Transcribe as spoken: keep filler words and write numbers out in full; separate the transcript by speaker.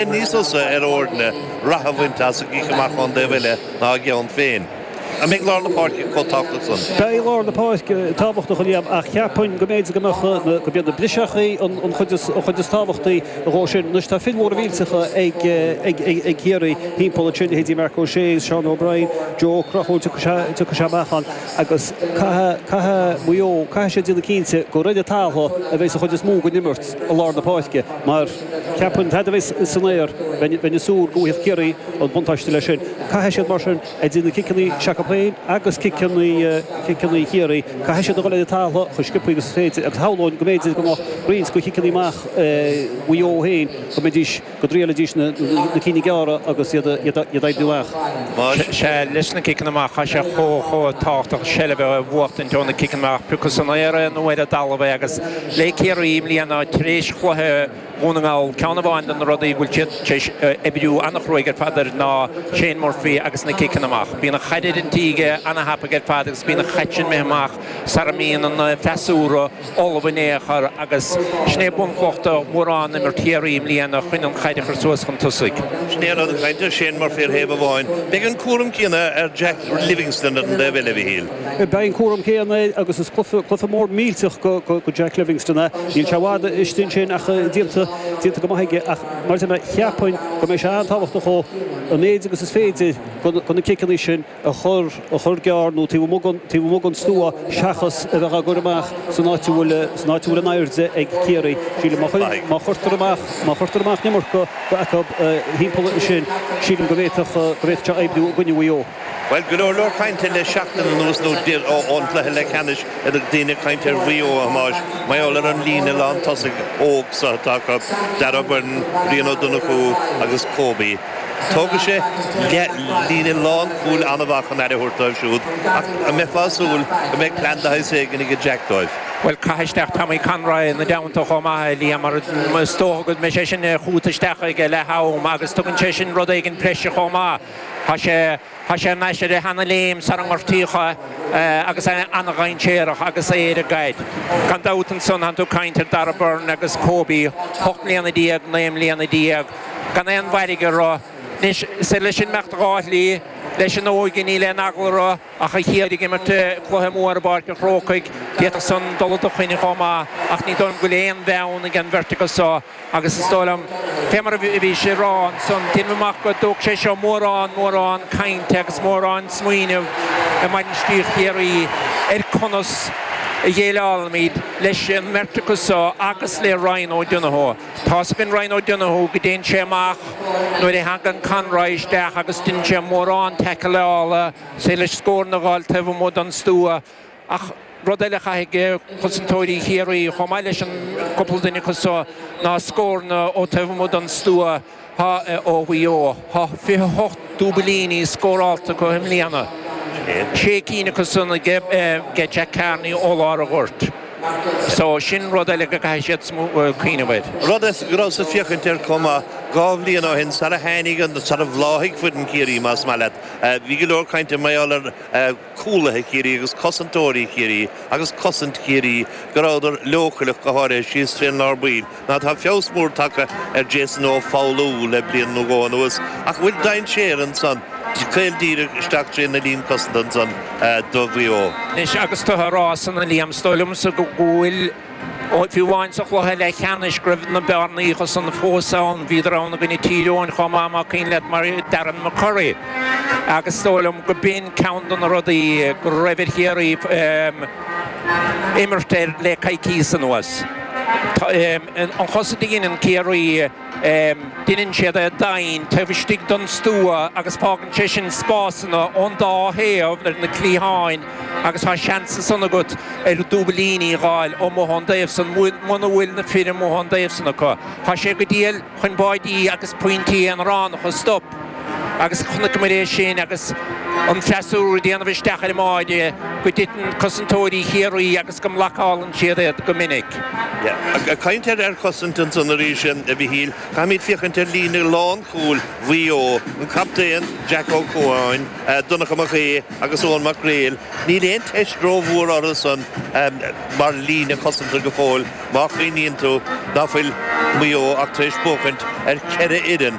Speaker 1: Níos fusa ar fhoirne rath a bhaint as an gcic amach ón dtaobh eile ná a gceann féin. An mbeidh lár na páirce chomh tábhachtach san?
Speaker 2: Beidh lár na páirce tábhachtach, a Liam, ach cheapfainn go mb'fhéidir go mbeadh na, go mb'iad na briseachaí an an chuid is, an chuid is tábhachtaí dhó sin. Anois tá fir mhóra mhillteacha ag, ag, ag, ag Ciarraí thimpeall ansin, leithéidí Marc Ó Sé agus Seán O'Brien, Joe Ó Conchúir, tiocfaidh sé, tiocfaidh sé amach ann agus caithfidh, caithfidh Maigh Eo, caithfidh siad déanamh cinnte gur ar an talamh a bheidh an chuid is mó den imirt i lár na páirce mar cheapfainn fad a bheidh san aer, bheinn, bheinn ag súil go bhfaigheadh Ciarraí an buntáiste leis sin. Caithfidh siad mar sin idir na ciceanna s'acu féin agus ciceanna, ciceanna Chiarraí, caithfidh siad a dhul ar an talamh chomh sciobtha agus is féidir agus shamhlóinn go mb'fhéidir go mbeadh roinnt de chiceanna amach Mhaigh Eo féin go mbeidís, go dtriailfidís na, na cinn gearra agus iad, iad, iad a oibriú amach.
Speaker 3: Sea, leis na ciceanna amach, tá sé chomh, chomh tábhachtach seilbh a bhuachtaint ó na ciceanna amach, pé acu san aer é nó ar an dtalamh é agus le Ciarraí i mbliana tar éis chluiche Dhún na nGall, ceann amháin de na rudaí a bhfuil siad tar éis oibriú an-chruaidh ar fad air ná Shane Murphy agus na ciceanna amach. Bíonn an chaid ar an tí aige an-thapaidh ar fad agus bíonn an chaid sin imithe amach sara mbíonn an freasúra ullamh in aon chor agus sin é bunchloch de mhórán imirt Chiarraí i mbliana chun an chaid a chur suas chun tosaigh.
Speaker 1: Sin é an rud ag caint ar Shane Murphy ar thaobh amháin. Beidh an cúram céanna ar Jack Livingstone ar an dtaobh eile, a Mhichíl.
Speaker 2: Beidh an cúram céanna air agus is cluiche, cluiche mór millteach go, go Jack Livingstone é. Níl sé i bhfad istigh ansin ach déanta, déanta go maith aige ach mar a deir mé, cheapfainn go mbeidh sé an-tábhachtach dhó an méid agus is féidir de na ciceanna sin a chur, a chur gearr nó taobh amuigh den, taobh amuigh den stua seachas a bheith á gcur amach san áit a bhfuil, san áit a bhfuil an airde ag Ciarraí. Sílim má chuir, má chuirtear amach, má chuirtear amach an iomarca acu thimpeall ansin, sílim go bhféadfadh, go bhféadfadh sé oibriú i gcoinne Mhaigh Eo.
Speaker 1: Bhuel, go leor leor cainte le seachtain anuas nó ón gcluiche leathcheannais idir daoine ag caint ar Mhaigh Eo, a Thomáis, mar gheall ar an líne lán tosaigh óg seo atá acu, Darragh Beirne, Rian Ó Donnchú agus Kobe. Tógfaidh sé líne lánchúil an-mhaith chun aire a thabhairt dóibh siúd ach an mbeifeá ag súil go mbeidh plean de shaghas éigin ag Jack dóibh?
Speaker 3: Bhuel, caith isteach Tommy Conroy ina dteannta chomh maith, a Liam, mar is dócha go mbeidh sé sin chugat isteach ag leath am agus tugann sé sin rud éigin breise chomh maith. Tá sé. Tá sé ar ais ar a sheana-léim sara ngortaíodh é agus é an-dhainséarach agus é ar an gcaid. Gan dabht ansan tánn tú ag caint ar Darragh Beirne agus Kobe, ocht mbliana déag, naoi mbliana déag, gan aon mhairg orthu. Anois, is leis an imeacht dhá shlí, leis an óige níl aon eagla orthu ach a chéad ag imirt cluiche mór i bPáirc an Chrócaigh, d'fhéadfadh san dul i do choinne chomh maith ach ní dóigh liom go bhfuil aon bheann ag an bheirt acu so. Agus is dóigh liom, fé mar a bhís ag rá ansan, déanaim amach go dtógfaidh sé seo mórán, mórán cainte agus mórán smaoineamh i mbainistíocht Chiarraí ar conas a dhéileálaimid leis an mbeirt acu so agus le Ryan O'Donoghue. Tá's againn Ryan O'Donoghue go dtéann sé amach nuair a thagann Conroy isteach agus deineann sé mórán taicleála, is leis scóranna a dh'fháil taobh amuigh den stua. Ach rud eile a chaithfidh cosantóirí Chiarraí, chomh maith leis an gcúpla duine acu so, ná scóranna ó taobh amuigh den stua ó Mhaigh Eo. Tá fiche hocht dúbailíní scórálta acu i mbliana, sé cinn acu san ag Jack Carney ó lár an ghoirt. So sin rud eile go gcaithfidh siad cuimhneamh air.
Speaker 1: Rud go rabhas ag féachaint air chomh maith dhá bhliain ó shin sara tháinig an, sara bhláthaigh foireann Chiarraí más maith leat, bhí go leor cainte mar gheall ar cúlaithe Chiarraí agus cosantóirí Chiarraí agus cosaint Chiarraí, go rabhadar leochaileach go háirithe síos trén lár baill. Ná tá feabhas mór tagtha ar Jason Ó Foghlú le bliain nó dhó anuas ach an bhfuil dainséar ansan caol díreach isteach trén na líne cosanta ansan do Mhaigh Eo?
Speaker 3: Anois agus tú a rá san a Liam, is dóigh liomsa go bhfuil. Fiú amháin sa chluiche leathcheannais go raibh na bearnaíocha san fós ann, bhíodar ann i gcoinne Tír Eoghain chomh maith más cuimhin leat mar Darren McCurry agus is dóigh liom go b'in ceann de na rudaí go raibh ar Chiarraí imirt air le coicíos anuas. An chosaint a dheineann Ciarraí, Deineann siad é doimhin taobh istigh den stua agus fágann sé sin spásanna ón dá thaobh ar na cliatháin agus tá seans ansan agat ar dúbailíní a dh'fháil amuigh ón dtaobh san muna bhfuil na fir amuigh ón dtaobh san acu. Tá sé go diail chun báidí agus pointí aonaránacha a stop Agus chonaiceamar é sin agus an freasúra ag déanamh isteach ar an mbáide go dtiteann cosantóirí Chiarraí agus go mblocálann siad iad go minic.
Speaker 1: Ag caint ar chosaint ansan arís, a Mhichíl, caithfimid féachaint ar líne lánchúil Mhaigh Eo, an captaen Jack Ó Cualáin, Donncha Mac Aoidh agus Eoin Mac Gréil. Níl aon teist rómhór orthusan mar líne cosanta go fóill má chuimhníonn tú ná fuil Maigh Eo ach tar éis buachaint ar cheithre fhoireann.